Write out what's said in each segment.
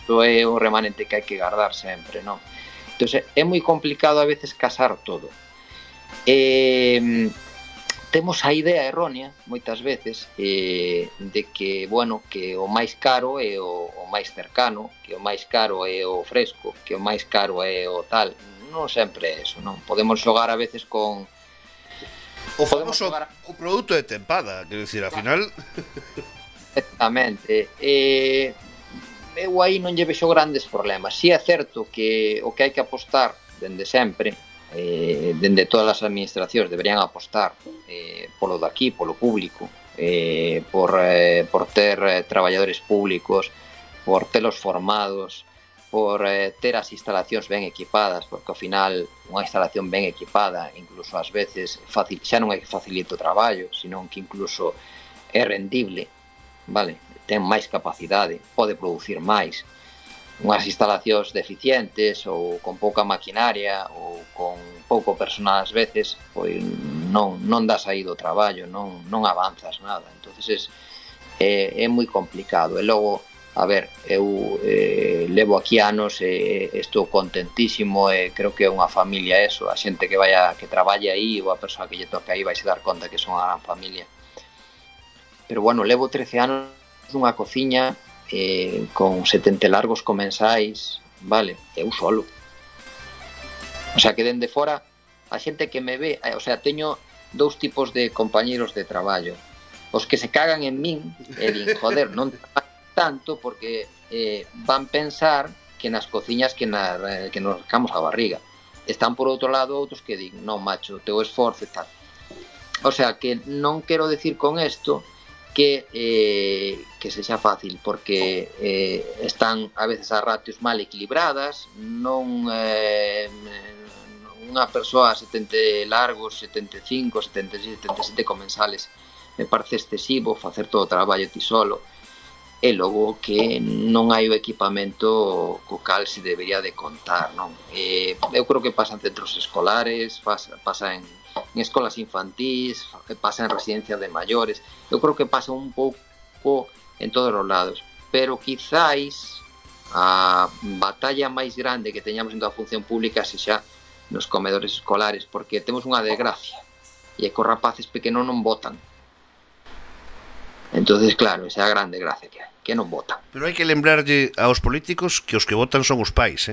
isto é o remanente que hai que guardar sempre, non? Entón, é moi complicado a veces casar todo. Temos a idea errónea moitas veces de que, bueno, que o máis caro é o máis cercano, que o máis caro é o fresco, que o máis caro é o tal. Non sempre é eso, non? Podemos xogar a veces con o famoso o produto de tempada, quero dicir, ao final. Exactamente. Eu aí non lle vexo grandes problemas. Si é certo que o que hai que apostar dende sempre, dende todas as administracións deberían apostar polo daqui, polo público, por ter traballadores públicos, por telos formados, por ter as instalacións ben equipadas, porque ao final unha instalación ben equipada incluso ás veces xa non é que facilite o traballo, senón que incluso é rendible, vale? Ten máis capacidade, pode producir máis. Unhas instalacións deficientes ou con pouca maquinaria ou con pouco personal ás veces, pois non das aí do traballo, non avanzas nada. Entonces é moi complicado. E logo, a ver, eu levo aquí anos e estou contentísimo e creo que é unha familia eso, a xente que traballe aí ou a persoa que lle toque aí vai se dar conta que son unha gran familia. Pero bueno, levo 13 anos nunha cociña con 70 largos comensais, vale, eu solo. O sea, que dende fora a xente que me ve, o sea, teño dous tipos de compañeros de traballo. Os que se cagan en min e din, joder, non tanto porque van pensar que nas cociñas que nos rascamos a barriga. Están por outro lado outros que din, non, macho, teu esforzo e tal. O sea, que non quero decir con isto que sexa fácil, porque están a veces as ratios mal equilibradas, non unha persoa 70 largos, 75, 76, 77 comensales me parece excesivo facer todo o traballo ti solo, e logo que non hai o equipamento co cal se debería de contar, non? Eu creo que pasa en centros escolares, pasa en escolas infantís, pasa en residencias de maiores, eu creo que pasa un pouco en todos os lados, pero quizáis a batalla máis grande que teñamos en toda a función pública sexa nos comedores escolares, porque temos unha desgracia, e é que os rapaces pequenos non votan. Entonces, claro, esa é a grande gracia que non votan. Pero hai que lembrarlle aos políticos que os que votan son os pais,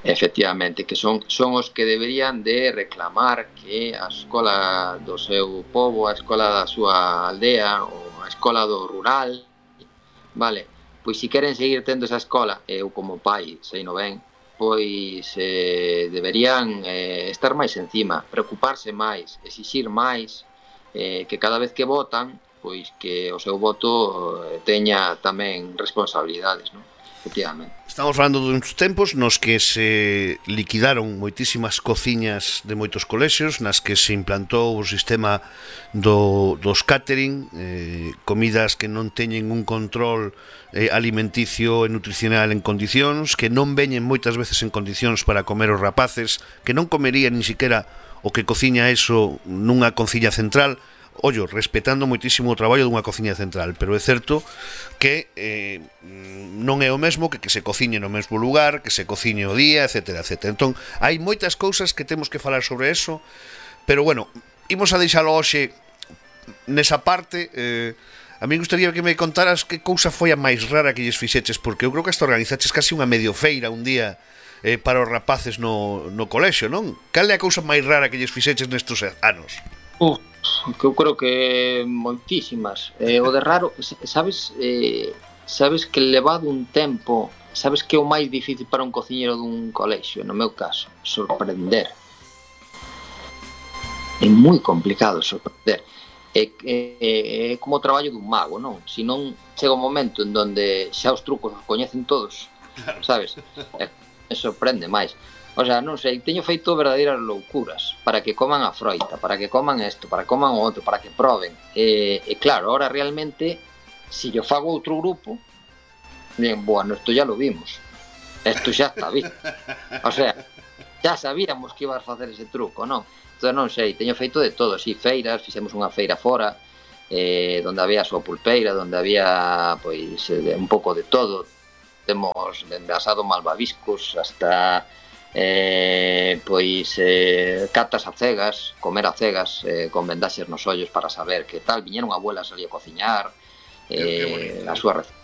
Efectivamente, que son os que deberían de reclamar que a escola do seu pobo, a escola da súa aldea ou a escola do rural, vale, pois se queren seguir tendo esa escola, eu como pai sei no ben, pois deberían estar máis encima, preocuparse máis, exixir máis, que cada vez que votan, pois que o seu voto teña tamén responsabilidades, non? Efectivamente. Estamos falando duns tempos nos que se liquidaron moitísimas cociñas de moitos colexios, nas que se implantou o sistema dos catering, comidas que non teñen un control alimenticio e nutricional en condicións, que non veñen moitas veces en condicións para comer os rapaces, que non comerían ni siquiera o que cociña eso nunha cociña central, ollo, respetando moitísimo o traballo dunha cociña central, pero é certo que non é o mesmo que se cociñe no mesmo lugar, que se cociñe o día, etcétera, etcétera. Entón, hai moitas cousas que temos que falar sobre eso, pero bueno, imos a deixalo hoxe nesa parte. A mí gustaría que me contaras que cousa foi a máis rara que lles fixeches, porque eu creo que hasta organizaches casi unha medio feira un día para os rapaces no colexio, non? Cal é a cousa máis rara que lles fixeches nestes anos? Que eu creo que moitísimas. O de raro, sabes que levado un tempo, sabes que é o máis difícil para un cociñeiro dun colexio, no meu caso, sorprender. É moi complicado sorprender. É como o traballo dun mago, non? Se non chega un momento en donde xa os trucos os coñecen todos, sabes? Me sorprende máis. O sea, non sei, teño feito verdadeiras loucuras para que coman a froita, para que coman isto, para que coman o outro, para que proben. E claro, ahora realmente, se yo fago outro grupo, bien, bueno, isto ya lo vimos. Isto xa está visto. O sea, xa sabíamos que ibas a facer ese truco, non? Entón, non sei, teño feito de todo, si, feiras, fixemos unha feira fora, donde había a súa pulpeira, donde había, pois, un pouco de todo. temos dende asado malvaviscos hasta catas a cegas, comer a cegas, con vendaxes nos ollos para saber que tal. Viñeron abuelas ali a cociñar, a súa receta.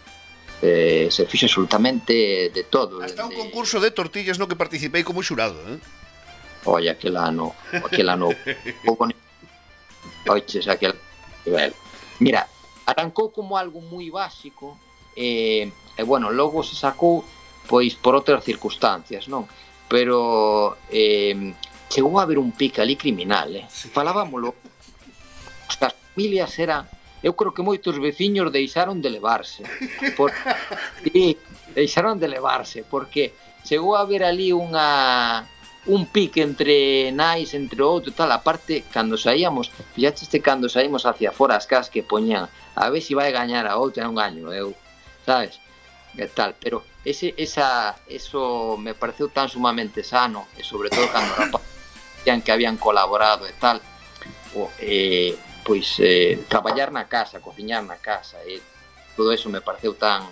Se fixe absolutamente de todo. Hasta un concurso de tortillas no que participei como xurado, Oye, aquel ano oiches, aquel nivel. Mira, arrancou como algo moi básico e bueno, logo se sacou pois por outras circunstancias, non? Pero chegou a haber un pique ali criminal, sí. Falábamolo, as familias eran, eu creo que moitos veciños deixaron de levarse, sí, deixaron de levarse, porque chegou a haber ali un pique entre nais, entre outro, tal. Aparte, cando saíamos, fíxate cando saímos hacia fora as casas que poñían, a ver se vai gañar a outra, non gaño eu, sabes? E tal, pero eso me pareceu tan sumamente sano, e sobre todo cando rapazan que habían colaborado e tal, traballar na casa, cociñar na casa, e todo eso me pareceu tan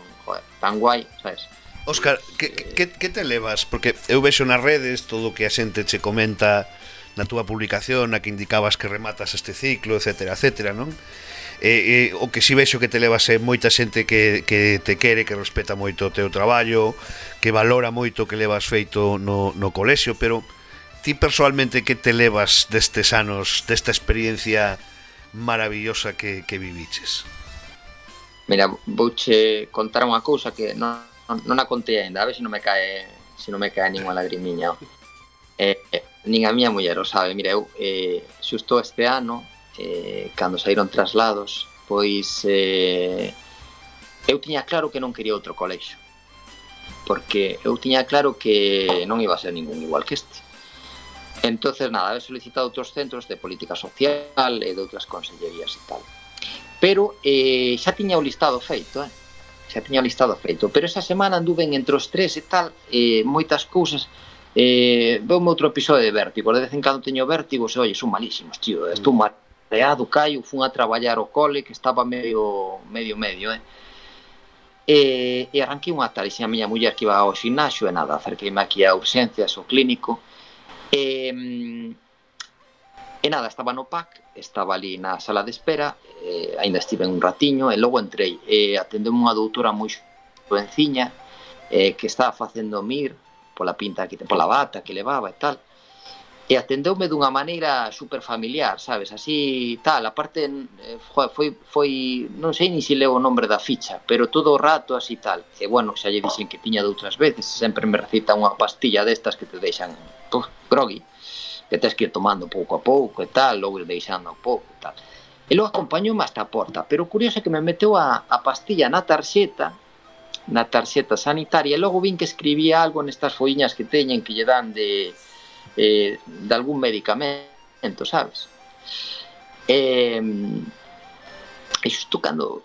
guai, sabes? Óscar, que te levas? Porque eu vexo nas redes todo o que a xente che comenta na túa publicación, na que indicabas que rematas este ciclo, etcétera, etcétera, non? O que si vexo que te levas é moita xente que te quere, que respeta moito o teu traballo, que valora moito o que levas feito no colexio, pero ti personalmente que te levas destes anos, desta experiencia maravillosa que viviches? Mira, vouche contar unha cousa que non a contei ainda, a ver se non me cae ninguna lagrimiña. Nin a miña muller o sabe. Mira, eu xusto este ano, cando saíron traslados, pois eu tiña claro que non quería outro colexio, porque eu tiña claro que non iba a ser ningún igual que este. Entonces, nada, he solicitado outros centros de política social e de outras consellerías e tal. Pero xa tiña o listado feito, pero esa semana anduven entre os tres e tal, moitas cousas. Veume outro episodio de vértigo, de vez en cando teño vértigos e, son malísimos, tío, estou mareado, caio, fun a traballar ao cole, que estaba medio, e arranquei unha tal, e a miña muller que iba ao ximnasio, e nada, acerqueime aquí a urxencias, ao clínico, e nada, estaba no PAC, estaba ali na sala de espera, ainda estive un ratiño, e logo entrei, atendeu-me unha doutora moi jovenciña, que estaba facendo mir, pola pinta que pola bata que levaba e tal, e atendeume dunha maneira super familiar, sabes, así tal. Aparte, foi non sei nin se leo o nombre da ficha, pero todo o rato así tal. E bueno, xa lle dixen que tiña de outras veces, sempre me recita unha pastilla destas que te deixan groggy, que tens que ir tomando pouco a pouco e tal, logo ir deixando a pouco e tal. E logo acompañoume hasta a porta, pero o curioso é que me meteu a pastilla na tarxeta sanitaria, e logo vin que escribía algo nestas folliñas que teñen que lle dan de algún medicamento, sabes? E xusto cando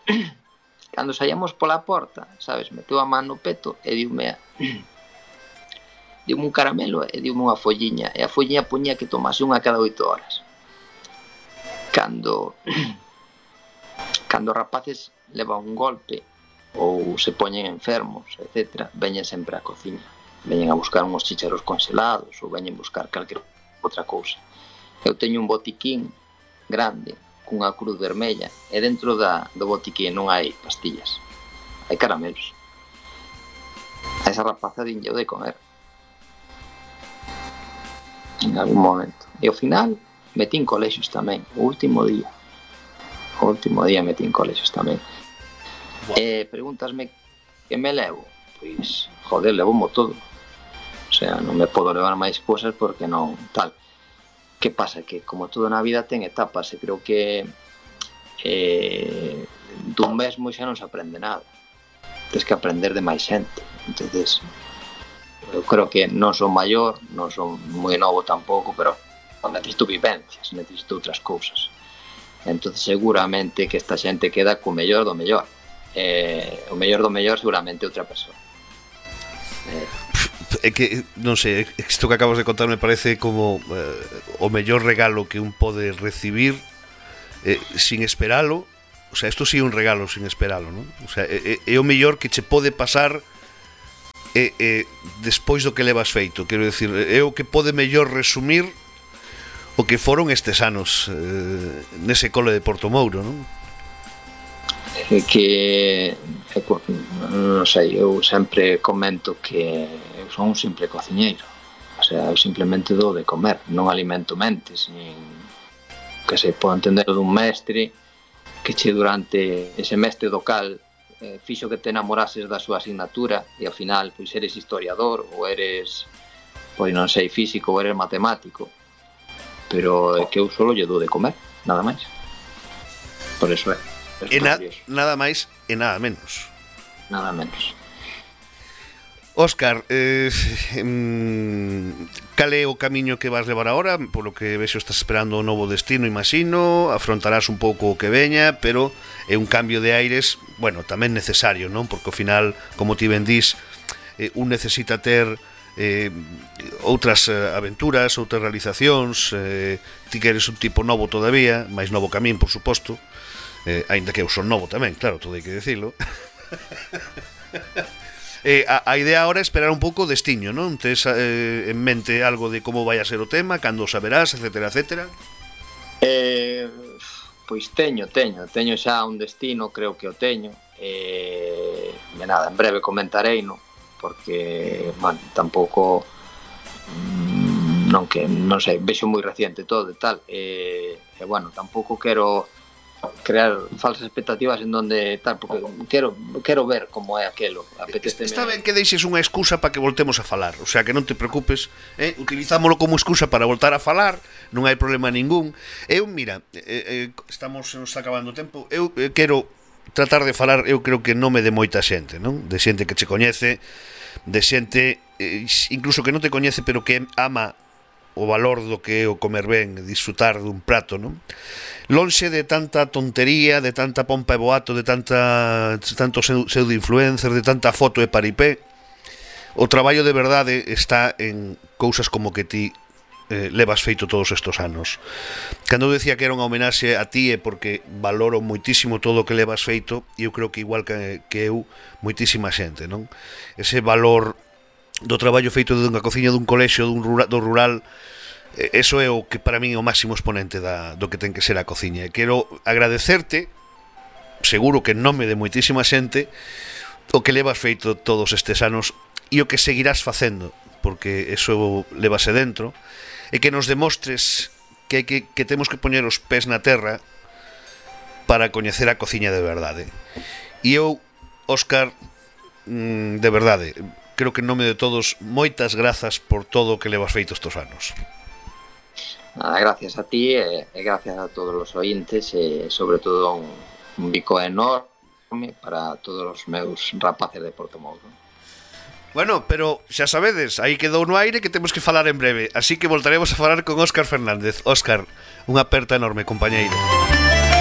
saíamos pola porta, sabes, meteu a man no peto e diume un caramelo e diume unha folliña, e a folliña poñía que tomase unha cada 8 horas. Cando rapaces levan un golpe ou se poñen enfermos, etc., veñen sempre á cociña, veñen a buscar uns chícharos congelados ou veñen buscar calquera outra cousa. Eu teño un botiquín grande cunha cruz vermella, e dentro do botiquín non hai pastillas, hai caramelos. A esa rapaza dinlle de comer en algún momento, e ao final metín colexios tamén, o último día metín colexios tamén. Pregúntasme que me levo, pois, joder, levomo todo, o sea, non me podo levar máis cousas porque non tal. Que pasa? Que como todo na vida ten etapas, e creo que dun mesmo xa non se aprende nada, tens que aprender de máis xente. Entonces, eu creo que non son maior, non son moi novo tampouco, pero necesito vivencias, necesito outras cousas. Entonces seguramente que esta xente queda co mellor do mellor. O mellor do mellor seguramente outra persoa. É que, non sei, isto que acabas de contar me parece como o mellor regalo que un pode recibir sin esperalo. O sea, isto sí é un regalo sin esperalo, non? O sea, é o mellor que che pode pasar despois do que levas feito, quero dicir, é o que pode mellor resumir o que foron estes anos nese cole de Portomouro, non? Que non sei, eu sempre comento que eu son un simple cociñeiro, o sea, eu simplemente dou de comer, non alimento mentes, nin que se pode entender dun mestre que che durante ese mestre do cal fixo que te enamorases da súa asignatura e ao final pois eres historiador ou eres, pois non sei, físico ou eres matemático, pero é que eu solo lle dou de comer, nada máis. Por eso é. E nada máis e nada menos. Nada menos. Óscar, cal é o camiño que vas levar agora? Polo que vexo estás esperando un novo destino, imagino, afrontarás un pouco o que veña, pero é un cambio de aires, bueno, tamén necesario, non? Porque ao final, como ti ben dís, un necesita ter outras aventuras, outras realizacións, ti que eres un tipo novo todavía, máis novo que a min, por suposto, aínda que eu son novo tamén, claro, todo hai que dicilo. A idea agora é esperar un pouco o destiño, non? Tes en mente algo de como vai a ser o tema, cando o saberás, etcétera, etcétera? Pois teño xa un destino, creo que o teño, nada, en breve comentareino, porque, bueno, tampouco non sei, vexo moi reciente todo e tal, bueno, tampouco quero crear falsas expectativas en donde tal, porque quero ver como é aquelo. Está ben que deixes unha excusa para que voltemos a falar, o sea, que non te preocupes, utilizámolo como excusa para voltar a falar, non hai problema ningún. Eu, mira, estamos, nos está acabando o tempo, eu quero tratar de falar, eu creo que nome de moita xente, non? De xente que che coñece, de xente incluso que non te coñece, pero que ama o valor do que é o comer ben, disfrutar dun prato, non? Lonxe de tanta tontería, de tanta pompa e boato, de tanto pseudo-influencer, de tanta foto e paripé, o traballo de verdade está en cousas como que ti levas feito todos estes anos. Cando eu decía que era unha homenaxe a ti é porque valoro moitísimo todo o que levas feito, e eu creo que igual que eu, moitísima xente, non? Ese valor do traballo feito dunha cociña dun colexio do rural, eso é o que para min é o máximo exponente do que ten que ser a cociña. E quero agradecerte, seguro que en nome de moitísima xente, o que levas feito todos estes anos e o que seguirás facendo, porque eso levase dentro, e que nos demostres que temos que poñer os pés na terra para coñecer a cociña de verdade. E eu, Óscar, de verdade, creo que en nome de todos, moitas grazas por todo o que levas feito estes anos. Nada, gracias a ti e gracias a todos os ointes e sobre todo un bico enorme para todos os meus rapaces de Portomouro. Bueno, pero xa sabedes, aí quedou no aire que temos que falar en breve, así que voltaremos a falar con Óscar Fernández. Óscar, unha aperta enorme, compañeiro.